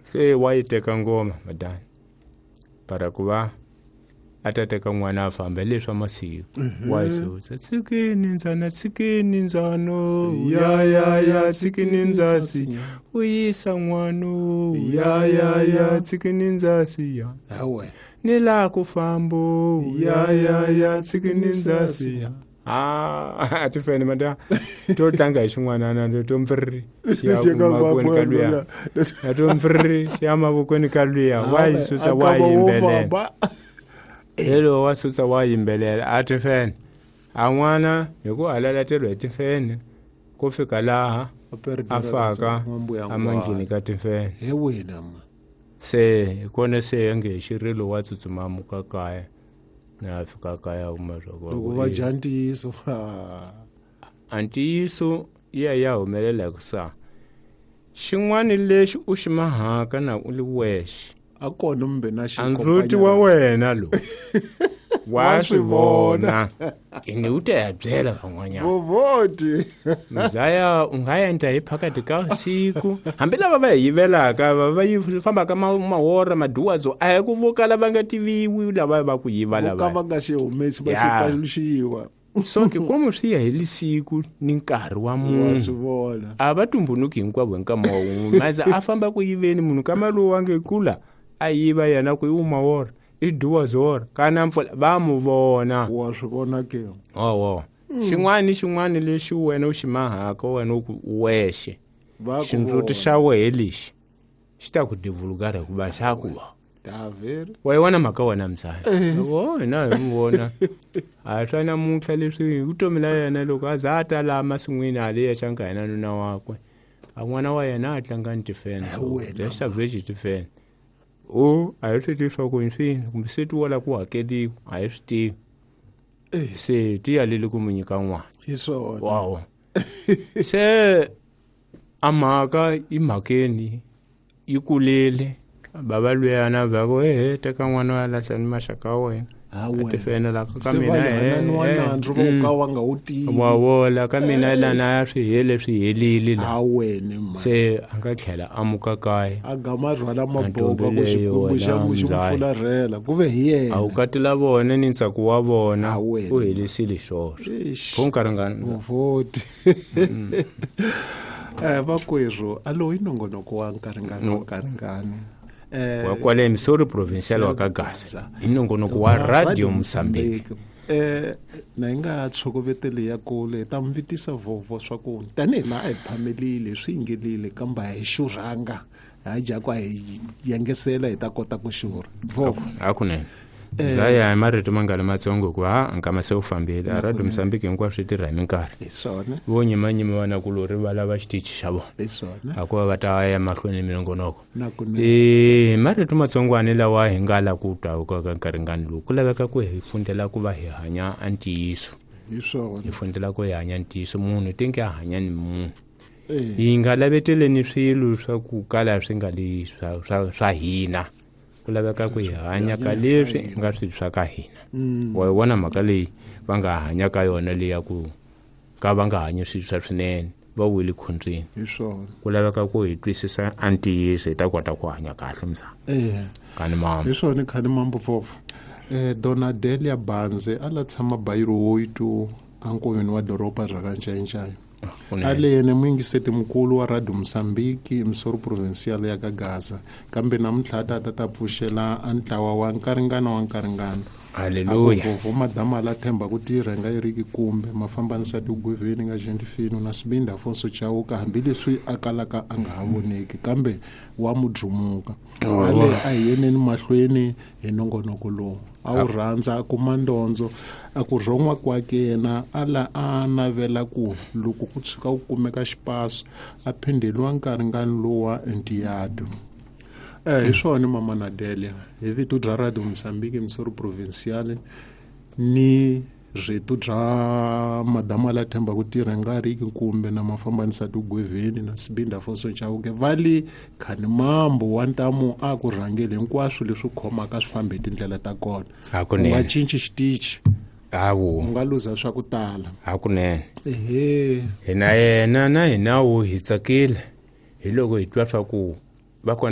Se wa yi teka ngoma madani para ku va a ta teka n'wana a famba hi leswa masiku wa yi susa tshikini ndzana tshikini ndzano ya ya ya tshikini ndzasi u yisa n'wano ya ya ya tshikini ndzasi ya Hawe. ni laha ku fambo ya ya ya tshikini ndzasi ya a ti fene mada to tlanga hi xin'wanana to mpfiriri xi ya Xi ya mavokweni ka luya luya. ya to mpfiriri xi ya mavokweni ka luya wa yi susa wa yimbelela hello wa susa wa yimbelela a ti fene a n'wana hi ku halalateriwa hi tifene ku fika laha a faka amandlini ka tifene He wena ma. Se hi kona se ya nge xirilo wa tsutsuma muka kaya na fika kaya kuma swa ku Loko va dya ntiyiso. A ntiyiso ya ya humelela hi ku sa xin'wana lexi u xi mahaka na u li wexe A kona mbe na xi a ndzuti wa wena lowu wa swi vona ene u ta ya byela van'wanyana Vovoti. Mzaya u nga endla hi phakati ka siku hambi lava va hi yivelaka va va yi fambaka mahora maduwazo a hi ku vo kala va nga tiviwi lava va ku yiva Vo ka lava va nga xi humesi va xi Ya. paluxiwa. So ke komu swi ya hi lisiku ni nkarhi wa Wa munhu swi vona. A va tumbunuki hinkwavo hi nkama wa wun'we maze a famba ku yiveni munhu kama lowu wa nge kula a yiva yena ku i umawora i duwazora kana mpfula va mu vona. Wa swi vona ke. Owo xin'wana ni xin'wana lexi wena u xi mahaka wena u ku wexe Va ku xindzuti vona. xa wehe lexi xi ta ku divulgara hikuva xa ku va Daveri. Wa yi vona mhaka wena mzala loko hina hi mu vona a swa namuntlha leswi hi vutomi la yena loko a za a ta laha masin'wini hale ya xanka yena nuna wakwe a n'wana wa yena a tlanga ni tifene Wena. lexi veji tifene o a hi swi tivi swa ku hi swini kumbe se ti wala ku hakeliwa a hi swi tivi se ti yalele ku mu nyika n'wana Hi swona. Wawo se a mhaka i mhakeni yi kulele bava luyana va ku ehe teka n'wana wa lahla ni maxaka ya wena Ha a wena. tifene la ka Se mina va hananiwa nandzu vo ka wa nga wu tivi. Wa vola ka mina lana ya swi hele swi helile la Ha wena ma. Se a nga tlhela a muka kaya A gama rhwala maboka Ntombi ku leyi xikwembu xa wena mu xi mu mzaya. fularhela ku ve hi yena. A wu katela vona ni ntsako wa vona Ha wena. u helisile swoswo Eish. pho nkarhi ngani Vovoti. Vakwerhu a lowu i nongonoko wa nkaringani wa nkaringani. Wa kwale Missouri Provincial wa ka Gaza hi nongonoko wa Radio Mozambique. Na hi nga tshokoveteli ya kule hi ta mi vitisa vovo swa ku tanihi laha a hi phamelile swi yingelile kambe a hi xurhanga ha dya ku a hi yengesela hi ta kota ku xurha vovo. Hakunene Mzaya hi marito ma nga ri matsongo hikuva ha nkama se wu fambile a Radio Mozambique hinkwaswo swi tirha hi minkarhi Hi swona. Vo nyimanyima vanakulori va lava xitichi xa vona Hi swona. a ku va va ta ya mahlweni ni minongonoko. Na kunene. Marito matsongwani lawa hi nga la ku twa ka nkaringani lowu ku laveka ku hi fundela ku va hi hanya a ntiyiso. Hi swona. Hi fundela ku hi hanya ntiyiso munhu tinge a hanya ni munhu hi nga laveteleni swilo swa ku kala swi nga li swa hina ku laveka ku hi hanya ka leswi nga swilo swa ka hina. Wa yi vona mhaka leyi va nga hanya ka yona leyi ya ku ka va nga hanyi swilo swa swinene va wile khondzweni. Hi swona. Ku laveka ku hi twisisa a ntiyiso hi ta kota ku hanya kahle mzana. Kani mama. Hi swona khani mambo vovo. Donadelia Banze a la tshama Bayiro Woitu ankoveni wa doroba ra ka Ncayincaya. Ale yena muyingiseti mukulu wa Radio Mozambique Missouri Provincial ya ka Gaza kambe namuntlha a ta ta pfuxela a ntlawa wa nkaringana wa nkaringana. Haleluya. Vovo madama la themba ku tirha nga Eriki kumbe mafambanisa tigweveni nga Gentifino na Sibinda Afonso Chauka hambileswi a kalaka a nga ha voneki kambe wa mudlumuka. Ale a hi yeneni mahlweni hi nongonoko lowu a wu rhandza a kuma ndondzo a ku rhon'wa kwake yena a la a navela ku loko ku tshuka ku kumeka xipaso a phindeliwa nkaringani lowu wa Ntiyado. Hi swona mama Nadelia hi vito bya Radio Mozambique Missouri Provincial ni rito bya madama la themba ku tirha nga riki kumbe na mafambanisa tigweveni na Sibinda Afonso Chauke va le khani mambo wa ntamu a ku rhangeli hinkwaswo leswi khomaka swi fambe hi tindlela ta kona. Hakunene. U nga cinci xitichi. Hawu. U nga luza swa ku tala. Hakunene. Ehe. Hina yena na hina wu hi tsakile hi loko hi twa swa ku Va kona.